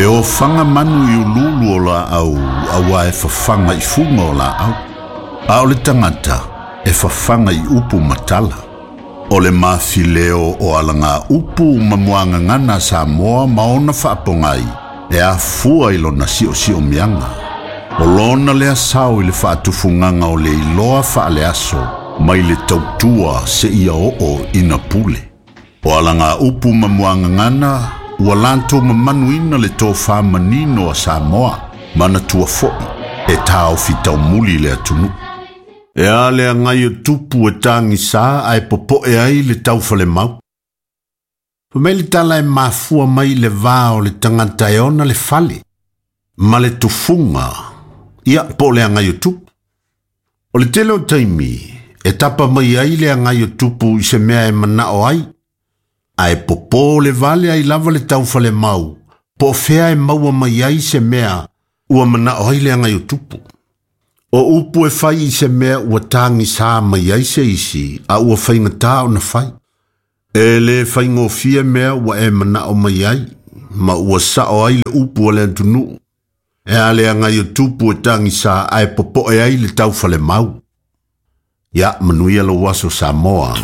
E ofaga manu i uluulu o laau auā e fafaga i fuga o laau. A o le tagata e fafaga i upu ma tala. O le mafileo o alaga upu ma muagagana a Samoa ma ona faapogai e afua i lona siosiomiaga. O lona lea sao i le faatufugaga o le iloa faaleaso mai le tautua seia oo ina pule. O alaga upu ma muagagana ua latou mamanuina le tofa manino a Samoa, manatua foi e taofi taumuli le atunuu. E a le agai o tupu e tagisa ae popoe ai le taufalemau. Fai mai le tala e mafua mai le va o le tagata e ona le fale ma le tufuga, ia po o le agai o tupu. O le tele o taimi e tapa mai ai le agai o tupu i se mea e manao ai, ae popō le vale ai lava le taufalemau po o fea e maua mai ai se mea ua manao ai le agai o tupu. O upu e fai i se mea ua tagisa mai ai se isi a ua faigata ona fai. E le faigofie mea ua e manao mai ai, ma ua sao ai le upu a le atunuu. E a le agai o tupu e tagisa ae popoe ai le taufalemau. Ia, manuia lou aso Samoa.